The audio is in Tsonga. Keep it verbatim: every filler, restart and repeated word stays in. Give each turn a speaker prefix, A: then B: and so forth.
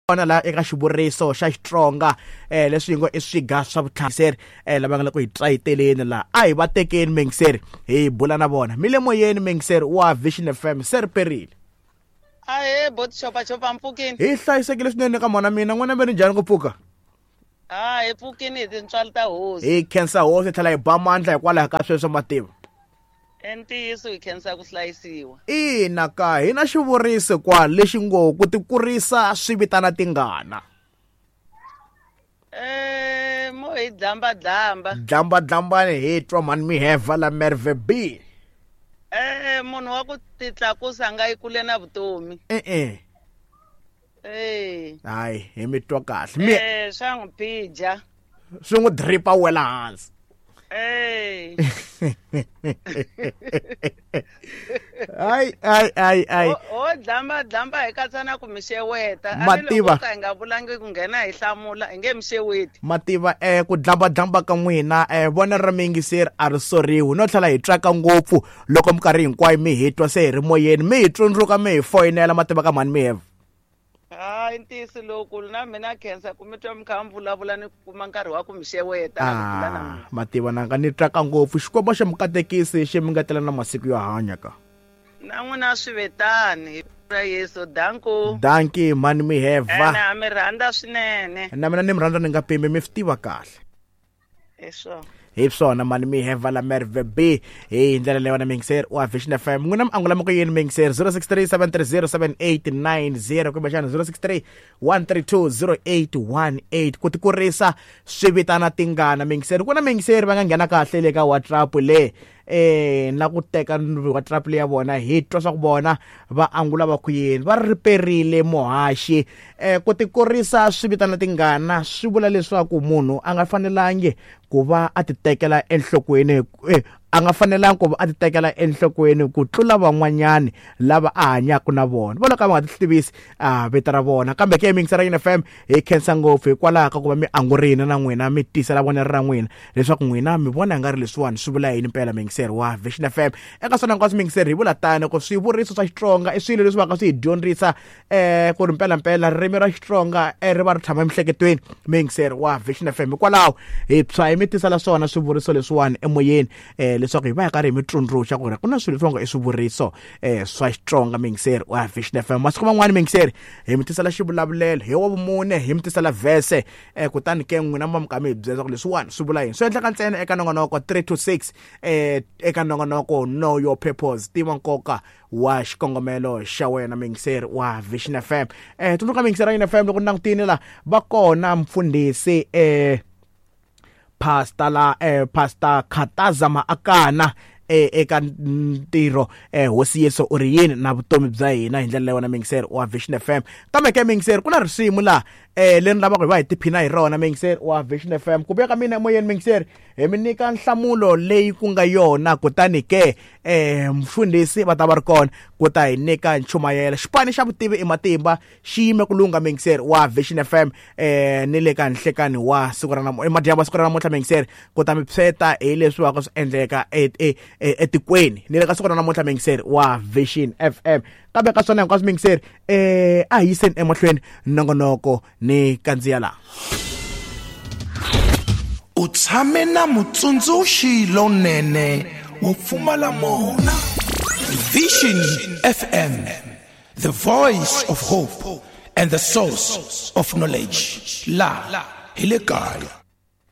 A: Kona la eka xivuriso xa Xitsonga eh leswi ngo i swiga swa vutlhari eh lava nga le ku hi trayiteleni la a hi va tekeni mingiseri hi bula na vona mi le moyeni mingiseri wa Vision F M se ri perile.
B: Ahe bot chopa chopa mpfukini
A: hi hlayisekile swinene ka mona mina n'wana mi ri njhani ku pfuka?
B: Ah hi pfukini hi tintswalo ta hosi
A: hi khensa hosi tlhela hi ba mandla hikwalaho ka sweswo mativa.
B: Ntiyiso hi khensa ku hlayisiwa.
A: Ina ka hi na xivuriso kwa lexi ngo ku tikurisa swi vitana tingana.
B: Eh mo hi dlamba dlamba.
A: Dlamba dlambani hi twa mani mi heva la Merve B.
B: Eh munhu wa ku titlakusa nga yi kule na vutomi.
A: Eh eh.
B: Eh.
A: Hayi hi mi twa kahle.
B: Eh swa n'wi phija.
A: Swi n'wi dripa wela hansi.
B: Hey.
A: Ai ai ai ai.
B: O dlamba dlamba hi katsa na ku mixeweta.
A: Mativa
B: ka nga vulangi ku nghena hi hlamula hi nge mixeweti.
A: Mativa eh ku dlamba dlamba ka n'wina eh vona ra mingiseri a ri soriwi no tlhela hi tsaka ngopfu loko minkarhi hinkwayo mi hi twa se hi ri moyeni mi hi tsundzuka mi hi foyinela mativa ka mhani mi heva.
B: Hayi ntiyiso lowukulu na mina khensa ku mi twa mi kha mi vulavula ni kuma nkarhi wa ku mi xeweta.
A: Ah, mativa nanga ni tsaka ngopfu Xikwembu xa mi katekisi xi mi ngetela na masiku yo hanya ka.
B: Na n'wina swi vetani hi ra Yesu danko.
A: Danki mani mi heva.
B: Na mi rhandza swinene.
A: Na mina ni mi rhandza ni nga pimbi mi swi tiva kahle.
B: Eswo.
A: Hi swona mani mi heva la Merve B hi ndlela leyi wena mingiseri wa Vision F M n'wina mi angula moko yini mingiseri zero six three seven three zero seven eight nine zero kumbe xana zero six three one three two zero eight one eight ku tikurisa swi vitana tingana mingiseri ku na mingiseri va nga nghena kahle le ka WhatsApp le eh na ku teka WhatsApp le ya vona hi twa swa ku vona va angula va ku yini va riperile muhaxi eh ku tikurisa swi vitana tingana swi vula leswaku munhu a nga fanelangi ku va a ti tekela enhlokweni eh, a nga fanelangi ku va a ti tekela enhlokweni ku tlula van'wanyani lava a hanyaka na vona vona ka va nga ti tivisi a vito ra vona kambe ke mingisera N F M hi khensa ngopfu hikwalaho ka ku va mi angurini na n'wina mi tisela vonelo ra n'wina leswaku n'wina mi vona nga ri leswiwani swi vula yini mpela mingiseri wa Vision F M eka swona hinkwaswo mingiseri hi vula tani ku swivuriso swa Xitsonga i swilo leswi va nga swi hi dyondzisa eh ku ri mpela mpela ririmi ra Xitsonga ri va ri tshama emiehleketweni mingiseri wa Vision F M hikwalaho hi tshwa hi mi tisela swona swivuriso leswiwani emoyeni eh leswaku hi va hi karhi hi mi tsundzuxa ku ri ku na swilo leswi nga i swivuriso eh swa Xitsonga mingiseri wa Vision F M masiku man'wani mingiseri hi mi tisela xivulavulelo hi wa vumune hi mi tisela verse eh kutani ke n'wina mi ka mi hi byela ku leswiwani swi vula yini swi endleka ntsena eka nongonoko three to six eh eka nongonoko Know Your Purpose tiva nkoka wa xikongomelo xa wena mingiseri wa Vision F M eh tsundzuka mingiseri ya F M loko langutini la va kona mfundhisi eh Pastor la eh Pastor Khataza Maakana eh eka ntirho eh hosi Yesu u ri yini na vutomi bya hina hi ndlela leyi wena mingiseri wa Vision F M kambe ke mingiseri ku na risimu la eh leri lavaka hi va hi tiphina hi rona mingiseri wa Vision F M ku vuya ka mina emoyeni mingiseri hi mi nyika nhlamulo leyi ku nga yona kutani ke eh mfundhisi va ta va ri kona ku ta hi nyika nchumayelo xipani xa vutivi i matimba xi yime ku lungha mingiseri wa Vision F M eh ni le ka nhlekani wa siku ra namuntlha emadyambu siku ra namuntlha mingiseri ku ta mi pseta hi leswi va ka swi endleka etikweni ni le ka siku ra namuntlha mingiseri wa Vision F M kambe ka swona hinkwaswo mingiseri eh a hi yiseni emahlweni nongonoko ni kandziya la
C: u tshame na mutsundzuxi lonene wo pfumala mona. Vision F M, the voice of hope and the source of knowledge. La hi le kaya.